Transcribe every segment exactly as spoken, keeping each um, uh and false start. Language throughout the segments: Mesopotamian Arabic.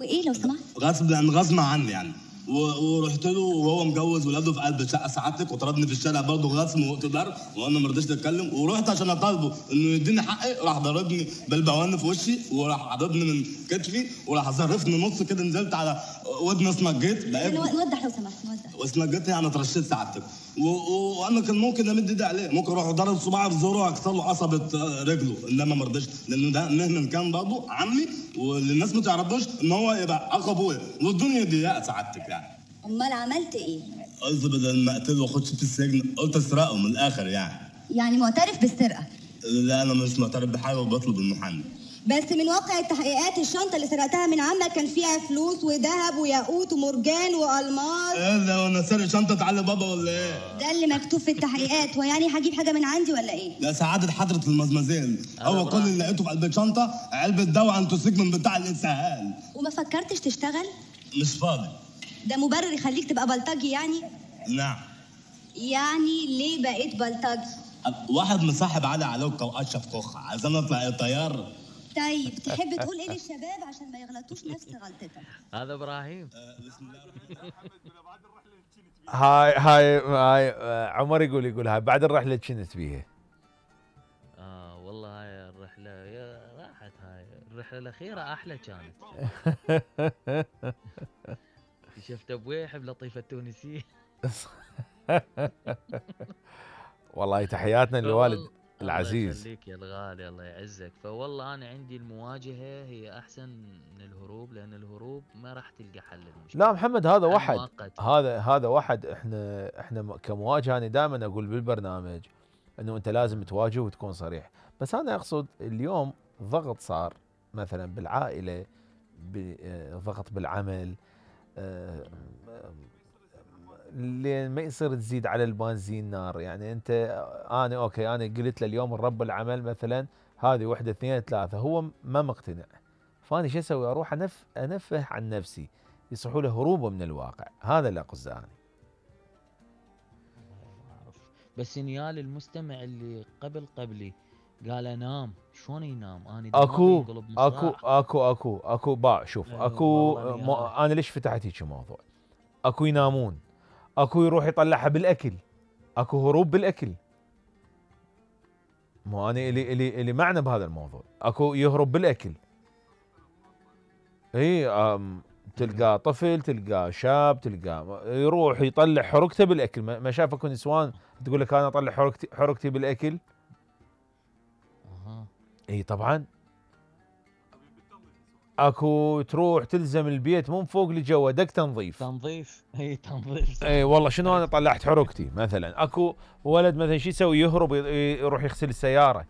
وايه لو سمحت؟ غصب يعني غصب عني يعني و- ورحت له وهو مجوز ولاده في قلب الشقه سعادتك، وطردني في الشارع برضه غصب واقتدار، وانا ما رضيتش اتكلم، ورحت عشان اطالبه انه يديني حقي، راح ضربني بالبوان في وشي، وراح عضبني من كتفي، وراح ظرفني نص كده، نزلت على ودني اسنجيت بقيت نو- نوضح لو سمحت نوضح. واسنجيت يعني اترشيت سعادتك، و- و- وانا كان ممكن امد ايدي عليه، ممكن اروح ضرب صباعي في زوره واكسر له قصبه رجله، انما ما رضيتش لانه ده مهما كان برضه عمي، والناس ما تعرفوش ان هو يبقى اخو ابويا، والدنيا ضيقه سعادتك يعني. امال عملت ايه؟ قلت بدل ما اقتله واخش في السجن قلت اسرقه من الاخر يعني. يعني معترف بالسرقه؟ لا انا مش معترف بحاجه وبطلب المحامي. بس من واقع التحقيقات الشنطه اللي سرقتها من عمك كان فيها فلوس وذهب وياقوت ومرجان والماس. ايه ده، وانا سارق شنطه علي بابا ولا ايه؟ ده اللي مكتوب في التحقيقات، ويعني هجيب حاجه من عندي ولا ايه؟ لا سعاده حضره المزمزين، هو كل اللي لقيته في قلب الشنطه علبه دواء انتوسيجمن بتاع الاسهال. وما فكرتش تشتغل؟ مش فاضي. ده مبرر يخليك تبقى بلطجي يعني؟ نعم. يعني ليه بقيت بلطجي؟ واحد مصاحب علي علوكه واشرف كوخه، عايزين نطلع طيار. طيب تحب تقول ايه للشباب عشان ما يغلطوش نفس غلطتك؟ هذا ابراهيم. بسم الله الرحمن الرحيم. هاي هاي هاي آه، عمر يقول يقول هاي بعد الرحله كنت بيها. اه والله هاي الرحله يا راحت، هاي الرحله الاخيره احلى كانت. شفت ابوي يحب لطيفه التونسيه. والله تحياتنا للوالد العزيز. الله يخليك يا الغالي، الله يعزك. فوالله انا عندي المواجهه هي احسن من الهروب، لان الهروب ما راح تلقى حل للمشكله. لا محمد هذا حل واحد، مؤقت. هذا هذا واحد. احنا احنا م- كمواجهه انا دائما اقول بالبرنامج انه انت لازم تواجه وتكون صريح، بس انا اقصد اليوم ضغط صار مثلا بالعائله، ب- آه، ضغط بالعمل، آه، لين ما يصير تزيد على البنزين نار. يعني انت انا اوكي انا قلت له اليوم الرب العمل مثلا هذه وحده اثنين ثلاثه، هو ما مقتنع، فاني شو اسوي؟ اروح انف انفه عن نفسي، يصحوا له هروبه من الواقع. هذا اللي اقصده انا. بس نيال المستمع اللي قبل قبلي قال انام، شلون ينام؟ انا اكو دماغي ينقلب اكو مصراع. اكو اكو اكو باع شوف أيوة اكو والله مو نيال. انا ليش فتحت هيك موضوع؟ اكو ينامون، اكو يروح يطلعها بالاكل، اكو هروب بالاكل. مو انا الي الي الي معنى بهذا الموضوع، اكو يهرب بالاكل. اي أم تلقى طفل، تلقى شاب، تلقى يروح يطلع حركته بالاكل. ما ما شافكم نسوان تقول لك انا اطلع حركتي حركتي بالاكل؟ اها. اي طبعا. اكو تروح تلزم البيت مو من فوق لجوا دق تنظيف. تنظيف. اي تنظيف. اي والله شنو انا طلعت حركتي مثلا. اكو ولد مثلا شو يسوي؟ يهرب يروح يغسل السياره.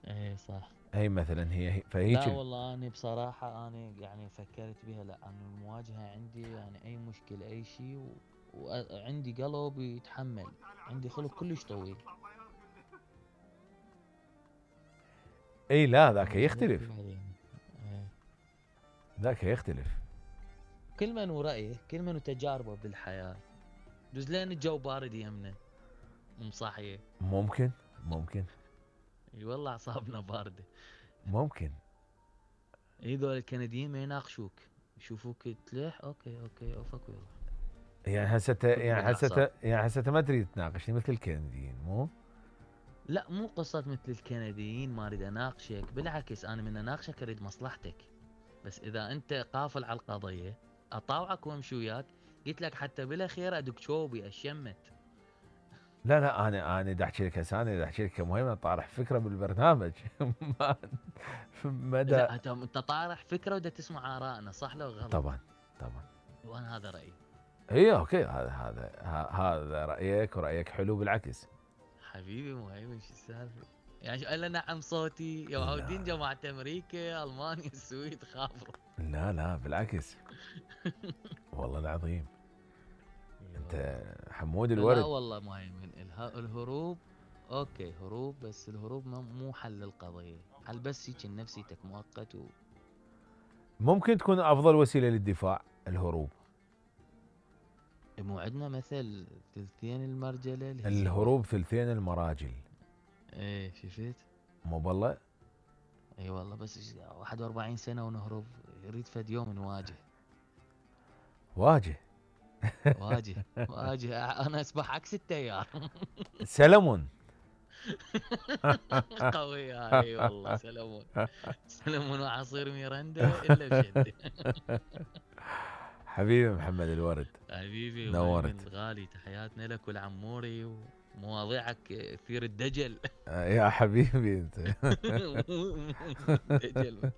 اي صح. هي مثلا هي هي- فهيك. لا والله انا بصراحه انا يعني فكرت بها، لا انا المواجهه عندي يعني اي مشكله اي شيء، وعندي قلب يتحمل، عندي خلق كلش طويل. اي لا ذاك يختلف، بعدين. إيه. ذاك يختلف. كل من ورأيه، كل من وتجاربه بالحياه. دوز لين الجو بارد يمنا ومصاحيه. ممكن ممكن اي والله اعصابنا بارده. ممكن. اي ذول الكنديين ما يناقشوك، يشوفوك تلح اوكي اوكي اوفك ويروح. يعني هسه يعني هسه بالأعصاب. يعني هسه ما تريد تناقشني مثل الكنديين مو؟ لا مو قصة مثل الكنديين ما اريد اناقشك، بالعكس انا من اناقشك اريد مصلحتك. بس اذا انت قافل على القضية اطاوعك وامشي وياك. قلت لك حتى بالاخير ادق شوبي اشمت. لا لا انا انا دا احكي لك هسه، انا دا احكي لك كمهم طارح فكره بالبرنامج. ما مدى. لا انت انت طارح فكرة ودا تسمع ارائنا، صح لو غلط؟ طبعا طبعا. وانا هذا رايي. اي اوكي هذا هذا ه- هذا رايك، ورايك حلو بالعكس. حبيبي مهيمن شو السالفة؟ يعني شو قال نعم صوتي يا معودين جماعة امريكا المانيا السويد خافروا. لا لا بالعكس. والله العظيم انت حمود لا الورد. والله مهيمن اله- الهروب اوكي هروب، بس الهروب ما- مو حل القضية، حل بس هيك نفسيتك مؤقت و... ممكن تكون افضل وسيله للدفاع الهروب. مو عندنا مثل ثلثين المرجلة الهزيمة. الهروب ثلثين المراجل. ايه شفت؟ مو بالله. اي والله بس واحد وأربعين سنة ونهرب يريد فد يوم نواجه. واجه. واجه واجه انا اسبح عكس التيار. سلمون. قوي اي والله سلمون. سلمون وعصير ميرندا الا بشده. حبيبي محمد الورد، حبيبي نورت. الغالي، تحياتنا لك ولعموري، ومواضيعك كثير الدجل. يا حبيبي انت. دجل.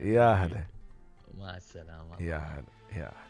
يا هلا. مع السلامة. يا هلا يا هلا.